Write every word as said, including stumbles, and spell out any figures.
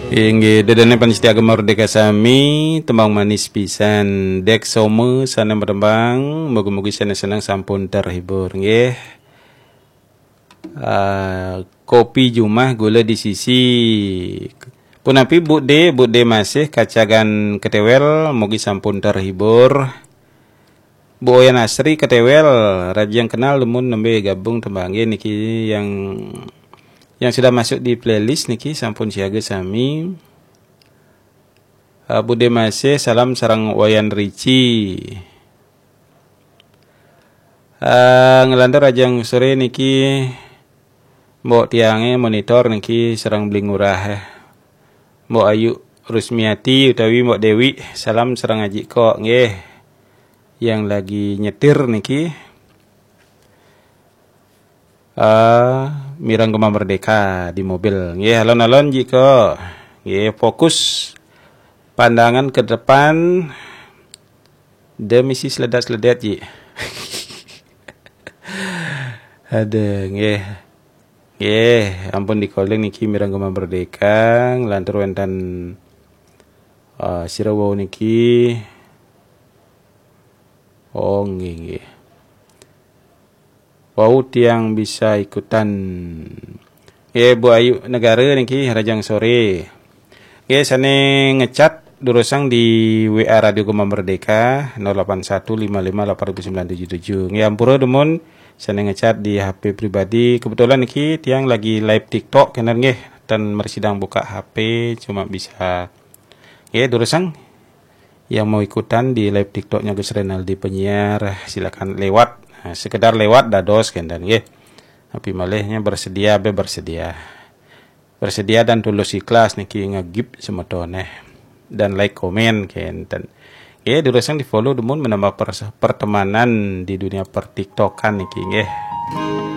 Inggih, ida dané pamiarsa Gema Merdeka sami, tembang manis pisan. Dék Soma sané matembang, mugi-mugi sané seneng sampun terhibur, nggih. Ah, kopi jumah gula di sisi. Punapi Bu Dé, Bu Dé Masih kacagan ketéwél, mugi sampun terhibur. Bu Oyan Asri ketéwél, rajang kenal dumun nembé gabung tembangé niki yang yang sudah masuk di playlist niki sampun siaga sami. Ah, Bu Dé Masih, salam sareng Wayan Rici. Ah, nglantur rajang soré niki Mbok tiangé monitor niki sareng Beli Ngurah, eh. Mbok Ayu Rusmiati utawi Mbok Déwi, salam sareng Aji Kok nggih yang lagi nyetir niki. Ah, mireng Gema Merdeka di mobil. Nggih, alon-alon Ji Kok. Nggih, fokus pandangan ke depan. Demi si seledat-seledat, Ji. Ada, nggih. Nggih, ampun di-calling niki mireng Gema Merdeka, nglantur wénten, ah, sira wau niki. Oh, nggih, nggih. Wau tiang bisa ikutan. Nggih, Bu Ayu Negara niki, rajang soré. Nggih, sané ngechat durusang di W A Radio Gema Merdeka, nol delapan satu lima lima delapan ribu sembilan tujuh tujuh. Nggih, ampura dumun sané ngechat di H P pribadi. Kebetulan niki tiang lagi live TikTok kénten nggih, ten mersidang buka H P, cuma bisa. Nggih, durusang yang mau ikutan di live TikToknya Gus Renaldi Penyiar, silakan lewat. Nah, sekedar lewat dados kénten nggih. Tapi malihnya bersedia, bé bersedia. Bersedia dan tulus ikhlas niki ngegib semetoné. Dan like, komen kénten. Nggih, durusang di-follow dumun menambah pers-, pertemanan di dunia pertiktokan niki nggih.